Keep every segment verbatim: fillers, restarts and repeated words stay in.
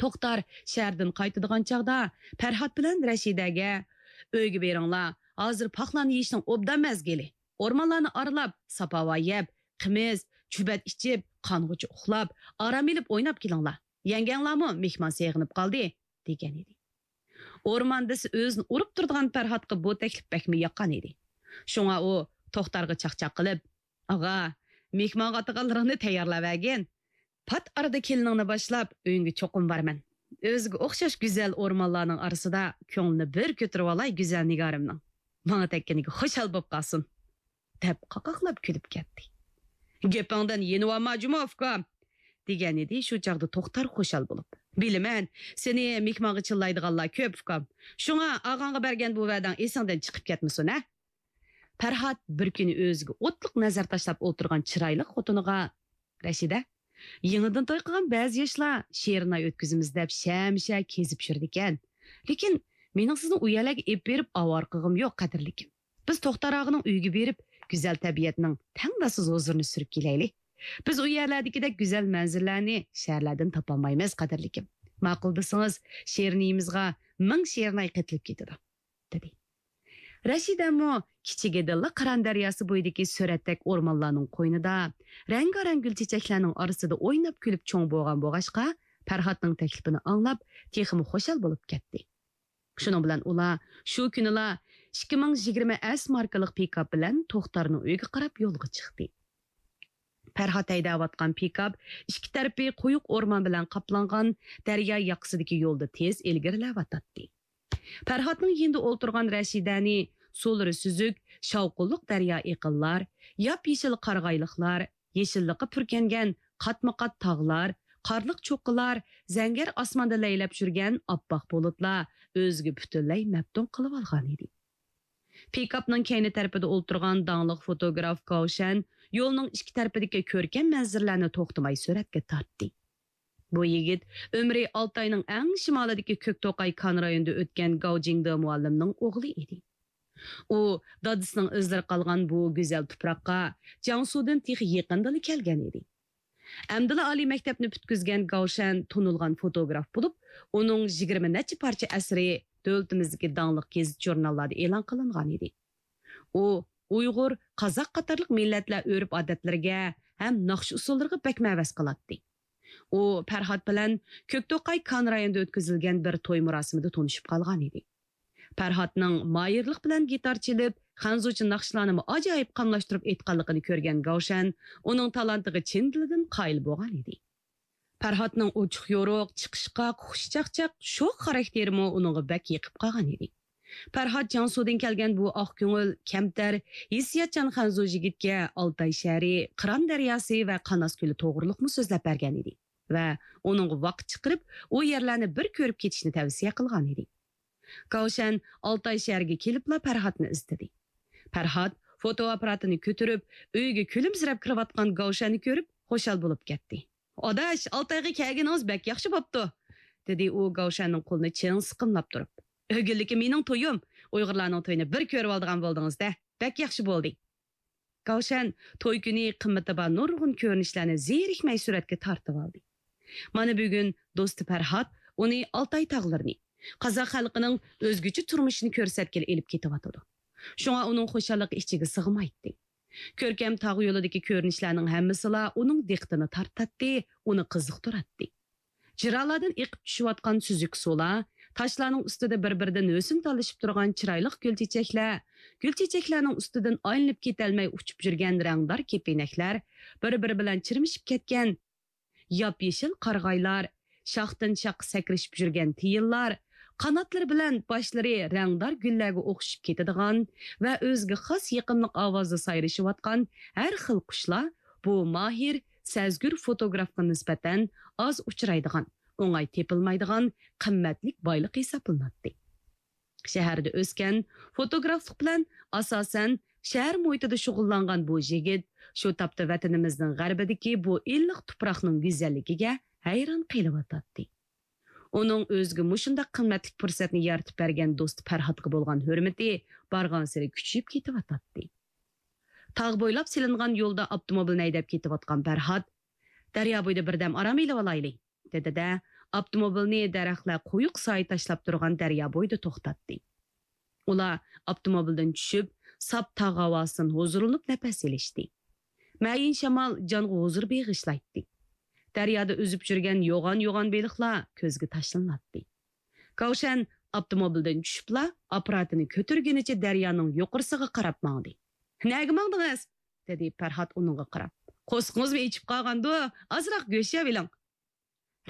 توختار شەھەردىن قايتىدىغان چاغدا پەرھات بىلەن رەشىدەگە، «ئۆيگە بېرىڭلار، ھازىر پاقلارنى يېيىشنىڭ ئوبدان مەزگىلى. ئورمانلارنى ئارىلاپ، ساپاۋا يەپ، قىمىز، چۈبەت ئىچىپ، قانغۇچە ئۇخلاپ، ئارام ئېلىپ ئويناپ كېلىڭلار. يەڭگەڭلارمۇ مېھمان سېغىنىپ قالدى» دېگەن ئىدى. ئورمان دېسە ئۆزىنى ئۇرۇپ تۇرىدىغان پەرھاتقا بۇ تەكلىپ بەكمۇ ياققان ئىدى. شۇڭا ئۇ توختارغا چاقچاق قىلىپ، «ئاغا، مېھمانغا ئاتىغانلىرىڭنى تەييارلاۋەرگىن. پات ئارىدا كېلىنىڭنى باشلاپ، ئۆيۈڭگە چوقۇم بارىمەن. ئۆزىگە ئوخشاش گۈزەل ئورمانلارنىڭ ئارىسىدا كۆڭلىنى بىر كۆتۈرۈۋالاي گۈزەل نىگارىمنىڭ. ماڭا تەگكىنىگە خۇشال بوپ قالسۇن» دەپ قاقاقلاپ كۈلۈپ كەتتى. «گېپىڭدىن يېنىۋالما جۇمۇ، ئۇكام!» دېگەن ئىدى شۇ چاغدا توختار خۇشال بولۇپ. «بىلىمەن، سېنى مېھمانغا چىللايدىغانلار كۆپ، ئۇكام. شۇڭا ئاغاڭغا بەرگەن بۇ ۋەدەڭ ئېسىڭدىن چىقىپ كەتمىسۇن، ھە؟» پەرھات بىر كۈنى ئۆزىگە ئوتلۇق نەزەر تاشلاپ ئولتۇرغان چىرايلىق خوتۇنىغا، «رەشىدە، يېڭىدىن توي قىلغان بەزى ياشلار شېرىن ئاي ئۆتكۈزىمىز دەپ شەمشە كېزىپ يۈرىدىكەن. لېكىن مېنىڭ سىزنى ئۇ يەرلەرگە ئېلىپ بېرىپ ئاۋارە قىلغۇم يوق، قەدىرلىكىم. بىز توختار ئاغىنىڭ ئۆيىگە بېرىپ، گۈزەل تەبىئەتنىڭ تەڭداشسىز ھۇزۇرىنى سۈرۈپ كېلەيلى. بىز ئۇ يەرلەردىكىدەك گۈزەل مەنزىرىلەرنى شەھەرلەردىن تاپالمايمىز، قەدىرلىكىم. ماقۇل دېسىڭىز، شېرىنىيىمىزغا مىڭ شېرىناي قېتىلىپ كېتىدۇ» دېدى. رەشىدەمۇ كىچىكىدىنلا قىران دەرياسى بويىدىكى سۈرەتتەك ئورمانلارنىڭ قوينىدا، رەڭگارەڭ گۈل چېچەكلەرنىڭ ئارىسىدا ئويناپ كۈلۈپ چوڭ بولغان بولغاچقا، پەرھاتنىڭ تەكلىپىنى ئاڭلاپ، تېخىمۇ خۇشال بولۇپ كەتتى. شۇنىڭ بىلەن ئۇلار شۇ كۈنىلا ئىككى مىڭ يىگىرمە ئەس ماركىلىق پىكاپ بىلەن توختارنىڭ ئۆيىگە قاراپ يولغا چىقتى. پەرھات ھەيدەۋاتقان پىكاپ ئىككى تەرىپى قويۇق ئورمان بىلەن قاپلانغان دەريا ياقىسىدىكى يولدا تېز ئىلگىرىلەۋاتاتتى. پەرھاتنىڭ يېنىدا ئولتۇرغان رەشىدەنى سۇلىرى سۈزۈك، شاۋقۇنلۇق دەريا ئېقىنلار، ياپيېشىل قارىغايلىقلار، يېشىللىققا پۈركەنگەن قاتمۇقات تاغلار، قارلىق چوققىلار، زەڭگەر ئاسماندا لەيلەپ يۈرگەن ئاپئاق بۇلۇتلار ئۆزىگە پۈتۈنلەي مەپتۇن قىلىۋالغانىدى. پىكاپنىڭ كەينى تەرىپىدە ئولتۇرغان داڭلىق فوتوگراف گاۋشەن يولنىڭ ئىككى تەرىپىدىكى كۆركەم مەنزىرىلەرنى توختىماي سۈرەتكە تارتتى. بۇ يىگىت ئۆمرى ئالتاينىڭ ئەڭ شىمالىدىكى كۆكتوقاي كان رايونىدا ئۆتكەن گاۋ جىڭدې مۇئەللىمنىڭ ئوغلى ئىدى. ئۇ دادىسىنىڭ ئىزلىرى قالغان بۇ گۈزەل تۇپراققا جياڭسۇدىن تېخى يېقىندىلا كەلگەن ئىدى. ئەمدىلا ئالىي مەكتەپنى پۈتكۈزگەن گاۋشەن تونۇلغان فوتوگراف بولۇپ، ئۇنىڭ يىگىرمە نەچچە پارچە ئەسىرى دۆلىتىمىزدىكى داڭلىق گېزىت-ژۇرناللاردا ئېلان قىلىنغان ئىدى. ئۇ ئۇيغۇر، قازاق قاتارلىق مىللەتلەر ئۆرپ-ئادەتلىرىگە ھەم ناخشا-ئۇسسۇللىرىغا بەك مەۋەس قىلاتتى. ئۇ پەرھات بىلەن كۆكتوقاي كان رايونىدا ئۆتكۈزۈلگەن بىر توي مۇراسىمىدا تونۇشۇپ قالغان ئىدى. پەرھاتنىڭ ماھىرلىق بىلەن گىتار چېلىپ، خەنزۇچە ناخشىلارنىمۇ ئاجايىپ قاملاشتۇرۇپ ئېيتقانلىقىنى كۆرگەن گاۋشەن ئۇنىڭ تالانتىغا چىن دىلىدىن قايىل بولغان ئىدى. پەرھاتنىڭ ئوچۇق-يورۇق، چىقىشقاق، خۇشچاقچاق، شوخ خاراكتېرىمۇ ئۇنىڭغا بەك يېقىپ قالغان ئىدى. پەرھات جياڭسۇدىن كەلگەن بۇ ئاق كۆڭۈل، كەمتەر، ھېسسىياتچان خەنزۇ يىگىتكە ئالتاي شەھىرى، قىران دەرياسى ۋە قاناس كۆلى توغرۇلۇقمۇ سۆزلەپ بەرگەن ئىدى ۋە ئۇنىڭغا ۋاقىت چىقىرىپ، ئۇ يەرلەرنى بىر كۆرۈپ كېتىشنى تەۋسىيە قىلغان ئىدى. گاۋشەن ئالتاي شەھىرىگە كېلىپلا پەرھاتنى ئىزدىدى. پەرھات فوتو ئاپپاراتىنى كۆتۈرۈپ، ئۆيگە كۈلۈمسىرەپ كىرىۋاتقان گاۋشەننى كۆرۈپ، خۇشال بولۇپ كەتتى. «ئاداش، ئالتايغا كەلگىنىڭىز بەك ياخشى بوپتۇ!» دېدى ئۇ گاۋشەننىڭ قولىنى چىڭ سىقىملاپ تۇرۇپ. «ئۆگۈنلۈكى مېنىڭ تويۇم. ئۇيغۇرلارنىڭ تويىنى بىر كۆرۈۋالىدىغان بولدىڭىز-دە. بەك ياخشى بولدى.» گاۋشەن توي كۈنى قىممىتى بار نۇرغۇن كۆرۈنۈشلەرنى زېرىكمەي سۈرەتكە تارتىۋالدى. مانا بۈگۈن دوستى پەرھات ئۇنى ئالتاي تاغلىرىنى، قازاق خەلقىنىڭ ئۆزگىچە تۇرمۇشىنى كۆرسەتكىلى ئېلىپ كېتىۋاتىدۇ. شۇڭا ئۇنىڭ خۇشاللىقى ئىچىگە سىغمايتتى. كۆركەم تاغ يولىدىكى كۆرۈنۈشلەرنىڭ ھەممىسىلا ئۇنىڭ دىققىتىنى تارتاتتى، ئۇنى قىزىقتۇراتتى. جىرالاردىن ئېقىپ چۈشۈۋاتقان سۈزۈك سۇلار، تاشلارنىڭ ئۈستىدە بىر-بىرىدىن ھۆسن تالىشىپ تۇرغان چىرايلىق گۈل چېچەكلەر، گۈل چېچەكلەرنىڭ ئۈستىدىن ئايلىنىپ كېتەلمەي ئۇچۇپ يۈرگەن رەڭدار كېپىنەكلەر، بىر-بىرى بىلەن چىرمىشىپ كەتكەن ياپيېشىل قارىغايلار، شاختىن شاخقا سەكرىشىپ يۈرگەن تىيىنلار، قاناتلىرى بىلەن باشلىرى رەڭدار گۈللەرگە ئوخشىشىپ كېتىدىغان ۋە ئۆزىگە خاس يېقىملىق ئاۋازدا سايرىشىۋاتقان ھەر خىل قۇشلار بۇ ماھىر، سەزگۈر فوتوگرافقا نىسبەتەن ئاز ئۇچرايدىغان، ئوڭاي تېپىلمايدىغان قىممەتلىك بايلىق ھېسابلىناتتى. شەھەردە ئۆسكەن، فوتوگرافلىق بىلەن ئاساسەن شەھەر مۇھىتىدا شۇغۇللانغان بۇ يىگىت شۇ تاپتا ۋەتىنىمىزنىڭ غەربىدىكى بۇ ئىللىق تۇپراقنىڭ گۈزەللىكىگە ھەيران قېلىۋاتاتتى. ئۇنىڭ ئۆزىگە مۇشۇنداق قىممەتلىك پۇرسەتنى يارىتىپ بەرگەن دوستى پەرھاتقا بولغان ھۆرمىتى بارغانسېرى كۈچىيىپ كېتىۋاتاتتى. تاغ بويلاپ سېلىنغان يولدا ئاپتوموبىلنى ھەيدەپ كېتىۋاتقان پەرھات، «دەريا بويىدا بىردەم ئارام ئېلىۋالايلى» دېدى-دە، ئاپتوموبىلنى دەرەخلەر قويۇق سايە تاشلاپ تۇرغان دەريا بويىدا توختاتتى. ئۇلار ئاپتوموبىلدىن چۈشۈپ، ساپ تاغ ھاۋاسىدىن ھۇزۇرلىنىپ نەپەس ئېلىشتى. مەيىن شامال جانغا ھۇزۇر بېغىشلايتتى. دەريادا ئۈزۈپ يۈرگەن يوغان-يوغان بېلىقلار كۆزگە تاشلىناتتى. كاۋشەن ئاپتوموبىلدىن چۈشۈپلا، ئاپپاراتىنى كۆتۈرگىنىچە دەريانىڭ يۇقىرىسىغا قاراپ ماڭدى. «نەگە ماڭدىڭىز؟» دېدى پەرھات ئۇنىڭغا قاراپ. «قورسىقىڭىزمۇ ئېچىپ قالغاندۇ، ئازراق گۆش يەۋېلىڭ.»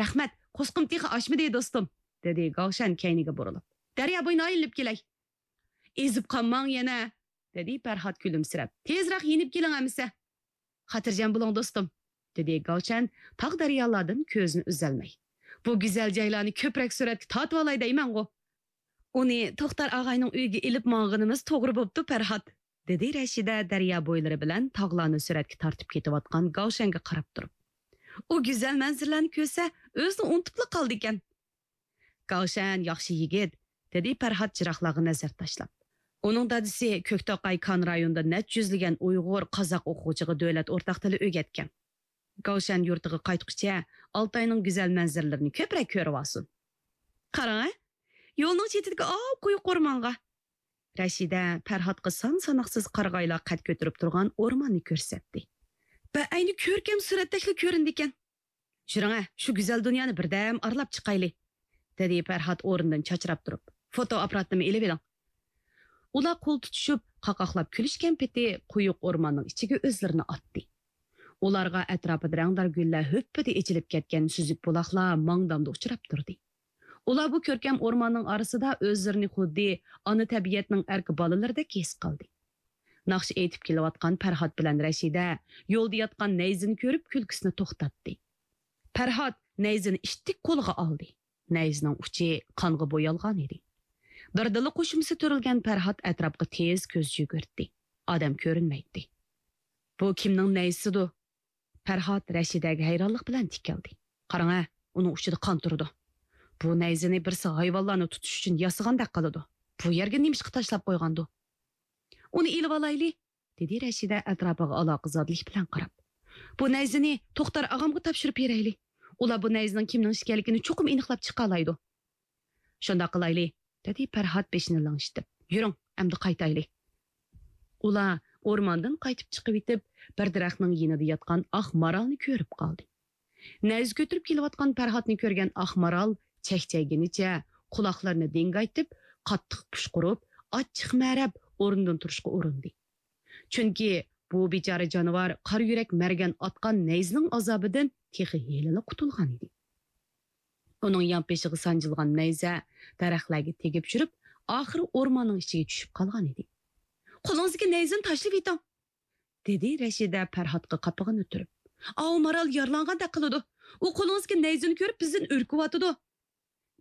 «رەھمەت، قورسىقىم تېخى ئاچمىدى، دوستۇم،» دېدى گاۋشەن كەينىگە بۇرۇلۇپ. «دەريا بويىنى ئايلىنىپ كېلەي.» «ئېزىپ قالماڭ يەنە،» دېدى پەرھات كۈلۈمسىرەپ. «تېزراق يېنىپ كېلىڭ ئەمىسە.» «خاتىرجەم بولۇڭ، دوستۇم،» دېدى گاۋشەن تاغ دەريالاردىن كۆزىنى ئۈزەلمەي. «بۇ گۈزەل جايلارنى كۆپرەك سۈرەتكە تارتىۋالاي دەيمەنغۇ.» «ئۇنى توختار ئاغاينىڭ ئۆيىگە ئېلىپ ماڭغىنىمىز توغرا بوپتۇ، پەرھات.» دېدى رەشىدە دەريا بويلىرى بىلەن تاغلارنى سۈرەتكە تارتىپ كېتىۋاتقان گاۋشەنگە قاراپ تۇرۇپ. «ئۇ گۈزەل مەنزىرىلەرنى كۆرسە، ئۆزىنى ئۇنتۇپلا قالىدىكەن.» «گاۋشەن ياخشى يىگىت،» دېدى پەرھات جىراقلارغا نەزەر تاشلاپ. «ئۇنىڭ دادىسى كۆكتوقاي كان رايونىدا نەچچە يۈزلىگەن ئۇيغۇر، قازاق ئوقۇغۇچىغا دۆلەت ئورتاق تىلى ئۆگەتكەن. گاۋشەن يۇرتىغا قايتقۇچە ئالتاينىڭ گۈزەل مەنزىرىلىرىنى كۆپرەك كۆرۈۋالسۇن.» «قاراڭ ھە، يولنىڭ چېتىدىكى ئاۋۇ قويۇق ئورمانغا.» رەشىدە پەرھاتقا سان-ساناقسىز قارىغايلار قەد كۆتۈرۈپ تۇرغان ئورماننى كۆرسەتتى. «بەئەينى كۆركەم سۈرەتتەكلا كۆرۈنىدىكەن.» «يۈرۈڭە، شۇ گۈزەل دۇنيانى بىردەم ئارىلاپ چىقايلى،» دېدى پەرھات ئورنىدىن چاچراپ تۇرۇپ. «فوتو ئاپپاراتنىمۇ ئېلىۋېلىڭ.» ئۇلار قول تۇتۇشۇپ، قاقاقلاپ كۈلۈشكەن پېتى قويۇق ئورماننىڭ ئىچىگە ئۆزلىرىنى ئاتتى. ئۇلارغا ئەتراپىدا رەڭدار گۈللەر ھۆپپىدە ئېچىلىپ كەتكەن سۈزۈك بۇلاقلار ماڭدامدا ئۇچراپ تۇردى. ئۇلار بۇ كۆركەم ئورماننىڭ ئارىسىدا ئۆزلىرىنى خۇددى ئانا تەبىئەتنىڭ ئەركە بالىلىرىدەك ھېس قىلدى. ناخشا ئېيتىپ كېلىۋاتقان پەرھات بىلەن رەشىدە يولدا ياتقان نەيزىنى كۆرۈپ كۈلكىسىنى توختاتتى. پەرھات نەيزىنى ئىتتىك قولىغا ئالدى. نەيزىنىڭ ئۇچى قانغا بويالغان ئىدى. بىردىنلا قوشۇمىسى تۈرۈلگەن پەرھات ئەتراپقا تېز كۆز يۈگۈرتتى. ئادەم كۆرۈنمەيتتى. «بۇ كىمنىڭ نەيزىسىدۇ؟» پەرھات رەشىدەگە ھەيرانلىق بىلەن تىكىلدى. «قاراڭە، ئۇنىڭ ئۇچىدا قان تۇرىدۇ. بۇ نەيزىنى بىرسى ھايۋانلارنى تۇتۇش ئۈچۈن ياسىغاندەك قىلىدۇ. بۇ يەرگە نېمىشقا تاشلاپ قويغاندۇ؟» «ئۇنى ئېلىۋالايلى،» دېدى رەشىدە ئەتراپىغا ئالاقىزادىلىك بىلەن قاراپ. «بۇ نەيزىنى توختار ئاغامغا تاپشۇرۇپ بېرەيلى. ئۇلار بۇ نەيزىنىڭ كىمنىڭ ئىكەنلىكىنى چوقۇم ئېنىقلاپ چىقالايدۇ.» «شۇنداق قىلايلى،» دېدى پەرھات بېشىنى لىڭشىتىپ. «يۈرۈڭ، ئەمدى قايتايلى.» ئۇلار ئورماندىن قايتىپ چىقىۋېتىپ، بىر دەرەخنىڭ يېنىدا ياتقان ئاق مارالنى كۆرۈپ قالدى. نەيزە كۆتۈرۈپ كېلىۋاتقان پەرھاتنى كۆرگەن ئاق مارال چەكچەيگىنىچە، قۇلاقلىرىنى دىڭگايتىپ، قاتتىق پۇشقۇرۇپ، ئاچچىق مەرەپ ئورنىدىن تۇرۇشقا ئۇرۇندى. چۈنكى بۇ بىچارە جانىۋار قارا يۈرەك مەرگەن ئاتقان نەيزىنىڭ ئازابىدىن تېخى ھېلىلا قۇتۇلغان ئىدى. ئۇنىڭ يانپېشىغا سانجىلغان نەيزە دەرەخلەرگە تېگىپ يۈرۈپ، ئاخىرى ئورماننىڭ ئىچىگە چۈشۈپ قالغان ئىدى. «قولىڭىزدىكى نەيزىنى تاشلىۋېتىڭ!» دېدى رەشىدە پەرھاتقا قاپىغىنى تۈرۈپ. «ئاۋۇ مارال يارىلانغاندەك قىلىدۇ. ئۇ قولىڭىزدىكى نەيزىنى كۆرۈپ بىزدىن ئۈركۈۋاتىدۇ.»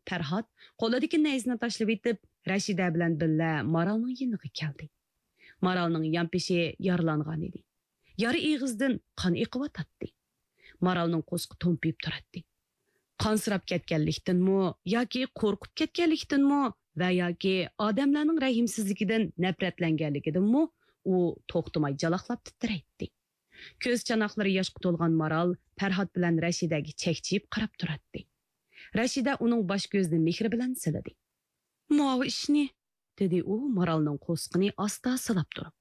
پەرھات قولىدىكى نەيزىنى تاشلىۋېتىپ، رەشىدە بىلەن بىللە مارالنىڭ يېنىغا كەلدى. مارالنىڭ يانپېشى يارىلانغان ئىدى. يارا ئېغىزدىن قان ئېقىۋاتاتتى. مارالنىڭ قورسىقى تومپىيىپ تۇراتتى. قانسىراپ كەتكەنلىكتىنمۇ ياكى قورقۇپ كەتكەنلىكتىنمۇ ۋە ياكى ئادەملەرنىڭ رەھىمسىزلىكىدىن نەپرەتلەنگەنلىكىدىنمۇ ئۇ توختىماي جالاقلاپ تىترەيتتى. كۆز چاناقلىرى ياشقا تولغان مارال پەرھات بىلەن رەشىدەگە چەكچىيىپ قاراپ تۇراتتى. رەشىدە ئۇنىڭ باش-كۆزىنى مېھرى بىلەن سىلىدى. «ماۋۇ ئىشنى» دېدى ئۇ مارالنىڭ قورسىقىنى ئاستا سىلاپ تۇرۇپ.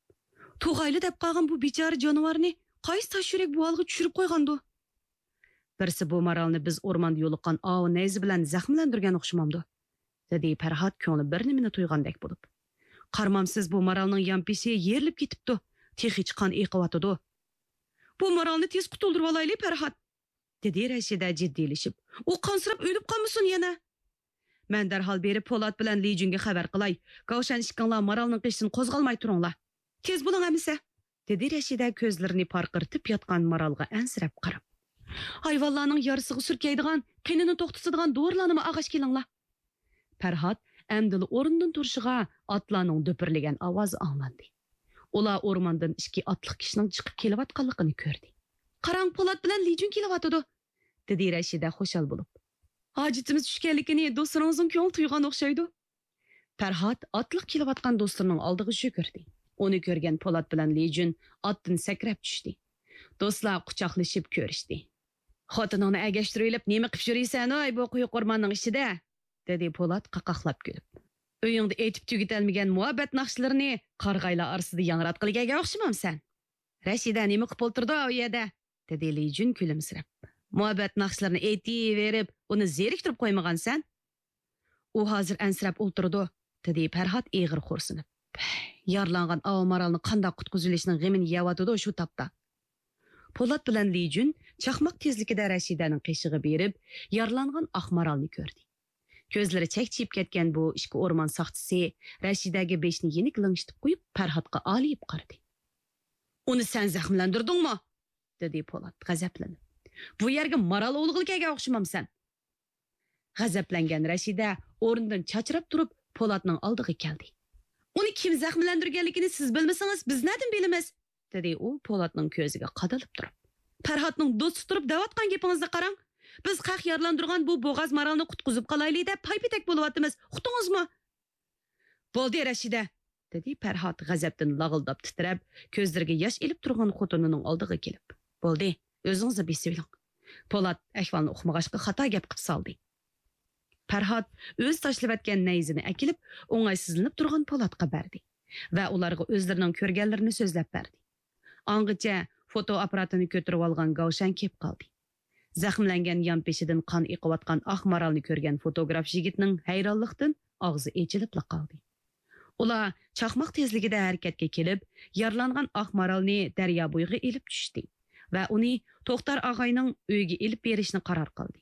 «تۇغايلى دەپ قالغان بۇ بىچارە جانىۋارنى قايسى تاش يۈرەك بۇ ھالغا چۈشۈرۈپ قويغاندۇ؟» «بىرسى بۇ مارالنى بىز ئورماندا يولۇققان ئاۋۇ نەيزە بىلەن زەخىملەندۈرگەن ئوخشىمامدۇ؟» دېدى پەرھات كۆڭلى بىر نېمىنى تويغاندەك بولۇپ. «قارىمامسىز، بۇ مارالنىڭ يانپېشى يېرىلىپ كېتىپتۇ، تېخىچە قان ئېقىۋاتىدۇ.» «بۇ مارالنى تېز قۇتۇلدۇرۇۋالايلى، پەرھات!» دېدى رەشىدە جىددىيلىشىپ. «ئۇ قانسىراپ ئۆلۈپ قالمىسۇن يەنە!» «مەن دەرھال بېرىپ پولات بىلەن لىجۈنگە خەۋەر قىلاي. گاۋشەن ئىككىڭلار مارالنىڭ قېشىدىن قوزغالماي تۇرۇڭلار.» «تېز بولۇڭ ئەمىسە!» دېدى رەشىدە كۆزلىرىنى پارقىرىتىپ ياتقان مارالغا ئەنسىرەپ قاراپ. «ھايۋانلارنىڭ يارىسىغا سۈركەيدىغان، قېنىنى توختىتىدىغان دورىلارنىمۇ ئالغاچ كېلىڭلار.» پەرھات ئەمدىلا ئورنىدىن تۇرۇشىغا ئاتلارنىڭ دۈپۈرلىگەن ئاۋازى ئاڭلاندى. ئۇلار ئورماندىن ئىككى ئاتلىق كىشىنىڭ چىقىپ كېلىۋاتقانلىقىنى كۆردى. «قاراڭ، پولات بىلەن لىجۈن كېلىۋاتىدۇ!» دېدى رەشىدە خۇشال بولۇپ. «ھاجىتىمىز چۈشكەنلىكىنى دوستلىرىڭىزنىڭ كۆڭلى تۇيغان ئوخشايدۇ.» پەرھات ئاتلىق كېلىۋاتقان دوستلىرىنىڭ ئالدىغا يۈگۈردى. ئۇنى كۆرگەن پولات بىلەن لىجۈن ئاتتىن سەكرەپ چۈشتى. دوستلار قۇچاقلىشىپ كۆرۈشتى. «خوتۇنۇڭنى ئەگەشتۈرۈۋېلىپ نېمە قىپ يۈرىسەن ھوي بۇ قويۇق ئورماننىڭ ئىچىدە؟» دېدى پولات قاقاقلاپ كۈلۈپ. «ئۆيۈڭدە ئېيتىپ تۈگىتەلمىگەن مۇھەببەت ناخشىلىرىنى قارىغايلار ئارىسىدا ياڭراتقىلى كەلگەن ئوخشىمامسەن؟» «رەشىدە نېمە قىپ ئولتۇرىدۇ ئۇ يەردە؟» دېدى لىجۈن كۈلۈمسىرەپ. «مۇھەببەت ناخشىلىرىنى ئېيتىۋېرىپ ئۇنى زېرىكتۈرۈپ قويمىغانسەن؟ ئۇ ھازىر ئەنسىرەپ ئولتۇرىدۇ»، دېدى پەرھات ئېغىر خورسىنىپ. «يارىلانغان ئاۋۇ مارالنى قانداق قۇتقۇزۇۋېلىشنىڭ غېمىنى يەۋاتىدۇ شۇ تاپتا.» پولات بىلەن لىجۈن چاقماق تېزلىكىدە رەشىدەنىڭ قېشىغا بېرىپ، يارىلانغان ئاق مارالنى كۆردى. كۆزلىرى چەكچىيىپ كەتكەن بۇ ئىككى ئورمان ساقچىسى رەشىدەگە بېشىنى يېنىك لىڭشىتىپ قويۇپ، پەرھاتقا ئالىيىپ قارىدى. «ئۇنى سەن زەخىملەندۈردۈڭمۇ؟» دېدى پولات غەزەپلىنىپ. «بۇ يەرگە مارال ئوۋلىغىلى كەلگەن ئوخشىمامسەن؟» غەزەپلەنگەن رەشىدە ئورنىدىن چاچراپ تۇرۇپ، پولاتنىڭ ئالدىغا كەلدى. «ئۇنى كىم زەخىملەندۈرگەنلىكىنى سىز بىلمىسىڭىز، بىز نەدىن بىلىمىز؟» دېدى ئۇ پولاتنىڭ كۆزىگە قادىلىپ تۇرۇپ. «پەرھاتنىڭ دوستى تۇرۇپ دەۋاتقان گېپىڭىزنى قاراڭ. بىز خەق يارىلاندۇرغان بۇ بوغاز مارالنى قۇتقۇزۇپ قالايلى دەپ پايپېتەك بولۇۋاتىمىز. ئۇقتىڭىزمۇ؟» «بولدى، رەشىدە!» دېدى پەرھات غەزەپتىن لاغىلداپ تىترەپ، كۆزلىرىگە ياش ئېلىپ تۇرغان خوتۇنىنىڭ ئالدىغا كېلىپ. «بولدى، ئۆزىڭىزلا بېسىۋېلىڭ.» پولات ئەھۋالنى ئۇقمىغاچقا خاتا گەپ قىپ سالدى. پەرھات ئۆزى تاشلىۋەتكەن نەيزىنى ئەكېلىپ، ئوڭايسىزلىنىپ تۇرغان پولاتقا بەردى ۋە ئۇلارغا ئۆزلىرىنىڭ كۆرگەنلىرىنى سۆزلەپ بەردى. ئاڭغىچە فوتو ئاپپاراتىنى كۆتۈرۈۋالغان گاۋشەن كېلىپ قالدى. زەخىملەنگەن يانپېشىدىن قان ئېقىۋاتقان ئاق مارالنى كۆرگەن فوتوگراف يىگىتنىڭ ھەيرانلىقتىن ئاغزى ئېچىلىپلا قالدى. ئۇلار چاقماق تېزلىكىدە ھەرىكەتكە كېلىپ، يارىلانغان ئاق مارالنى دەريا بويىغا ئېلىپ چۈشتى ۋە ئۇنى توختار ئاغاينىڭ ئۆيىگە ئېلىپ بېرىشنى قارار قىلدى.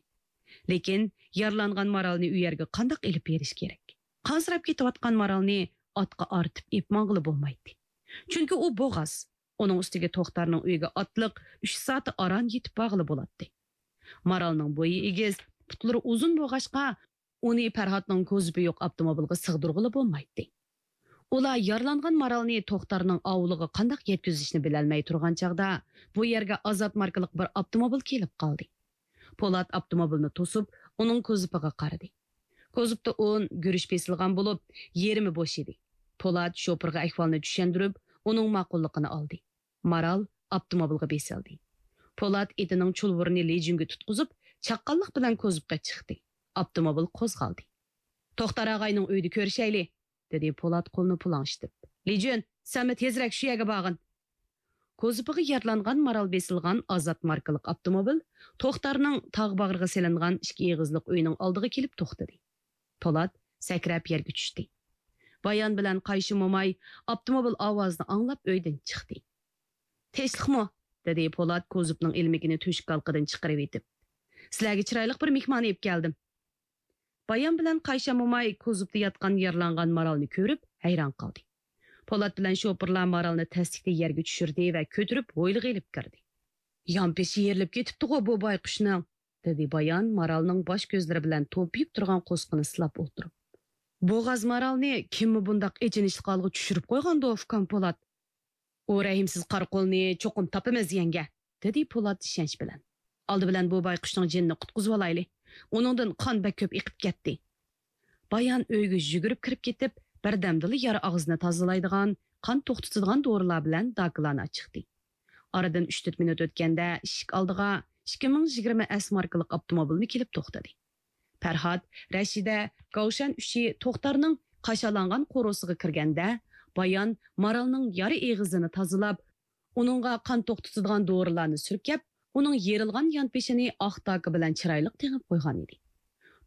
لېكىن يارىلانغان مارالنى ئۇ يەرگە قانداق ئېلىپ بېرىش كېرەك؟ قانسىراپ كېتىۋاتقان مارالنى ئاتقا ئارتىپ ئېلىپ ماڭغىلى بولمايتتى. چۈنكى ئۇ بوغاز. ئۇنىڭ ئۈستىگە توختارنىڭ ئۆيىگە ئاتلىق ئۈچ سائەت ئاران يېتىپ بارغىلى بولاتتى. مارالنىڭ بويى ئېگىز، پۇتلىرى ئۇزۇن بولغاچقا، ئۇنى پەرھاتنىڭ كوزۇپى يوق ئاپتوموبىلغا سىغدۇرغىلى بولمايتتى. ئۇلار يارىلانغان مارالنى توختارنىڭ ئاۋۇلىغا قانداق يەتكۈزۈشنى بىلەلمەي تۇرغان چاغدا، بۇ يەرگە ئازات ماركىلىق بىر ئاپتوموبىل كېلىپ قالدى. پولات ئاپتوموبىلنى توسۇپ، ئۇنىڭ كوزۇپىغا قارىدى. كوزۇپتا ئۇن، گۈرۈچ بېسىلغان بولۇپ، يېرىمى بوش ئىدى. پولات شوپۇرغا ئەھۋالنى چۈشەندۈرۈپ، ئۇنىڭ ماقۇللۇقىنى ئالدى. مارال ئاپتوموبىلغا بېسىلدى. پولات ئېتىنىڭ چۇلۋۇرىنى لىجۈنگە تۇتقۇزۇپ، چاققانلىق بىلەن كوزۇپقا چىقتى. ئاپتوموبىل قوزغالدى. «توختار ئاغاينىڭ ئۆيىدە كۆرۈشەيلى!» دېدى پولات قولىنى پۇلاڭشىتىپ. «لىجۈن، سەنمۇ تېزرەك شۇ يەرگە بارغىن!» كوزۇپىغا يارىلانغان مارال بېسىلغان ئازات ماركىلىق ئاپتوموبىل توختارنىڭ تاغ باغرىغا سېلىنغان ئىككى ئېغىزلىق ئۆيىنىڭ ئالدىغا كېلىپ توختىدى. پولات سەكرەپ يەرگە چۈشتى. بايان بىلەن قايشى موماي ئاپتوموبىل ئاۋازىنى ئاڭلاپ ئۆيدىن چىقتى. «تىنچلىقمۇ؟» دېدى پولات كوزۇپنىڭ ئىلمىكىنى تۆشۈك ھالقىدىن چىقىرىۋېتىپ. «سىلەرگە چىرايلىق بىر مېھمان ئېلىپ كەلدىم.» بايان بىلەن قايشا موماي كوزۇپتا ياتقان يارىلانغان مارالنى كۆرۈپ ھەيران قالدى. پولات بىلەن شوپۇرلار مارالنى تەسلىكتە يەرگە چۈشۈردى ۋە كۆتۈرۈپ ھويلىغا ئېلىپ كىردى. «يانپېشى يېرىلىپ كېتىپتىغۇ بۇ بايقۇشنىڭ!» دېدى بايان مارالنىڭ باش كۆزلىرى بىلەن توپىيىپ تۇرغان قورسىقىنى سىلاپ ئولتۇرۇپ. «بوغاز مارالنى كىممۇ بۇنداق ئېچىنىشلىق ھالغا چۈشۈرۈپ قويغاندۇ، ئۇكام پولات؟» «ئۇ رەھىمسىز قارا قۇلنى چوقۇم تاپىمىز، يەڭگە.» دېدى پولات ئىشەنچ بىلەن. «ئالدى بىلەن بۇ بايقۇشنىڭ جېنىنى قۇتقۇزۇۋالايلى. ئۇنىڭدىن قان بەك كۆپ ئېقىپ كەتتى.» بايان ئۆيگە يۈگۈرۈپ كىرىپ كېتىپ، بىردەمدىلا يارا ئاغزىنى تازىلايدىغان، قان توختىتىدىغان دورىلار بىلەن داكىلارنى ئاچىقتى. ئارىدىن ئۈچ تۆت مىنۇت ئۆتكەندە ئىشىك ئالدىغا ئىككى مىڭ يىگىرمە ئەس ماركىلىق ئاپتوموبىلمۇ كېلىپ توختىدى. پەرھات، رەشىدە، گاۋشەن ئۈچى توختارنىڭ قاشالانغان قورۇسىغا كىرگەندە، بايان مارالنىڭ يارا ئېغىزىنى تازىلاپ، ئۇنىڭغا قان توختىتىدىغان دورىلارنى سۈركەپ، ئۇنىڭ يېرىلغان يانپېشىنى ئاق داكا بىلەن چىرايلىق تېڭىپ قويغان ئىدى.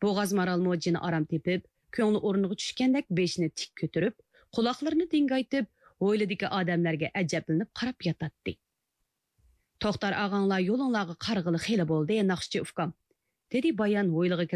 بوغاز مارالمۇ جېنى ئارام تېپىپ، كۆڭلى ئورنىغا چۈشكەندەك بېشىنى تىك كۆتۈرۈپ، قۇلاقلىرىنى دىڭگايتىپ، ھويلىدىكى ئادەملەرگە ئەجەبلىنىپ قاراپ ياتاتتى. «توختار ئاغاڭلار يولۇڭلارغا قارىغىلى خېلى بولدى، ناخشىچى ئۇكام.» دېدى بايان ھويلىغا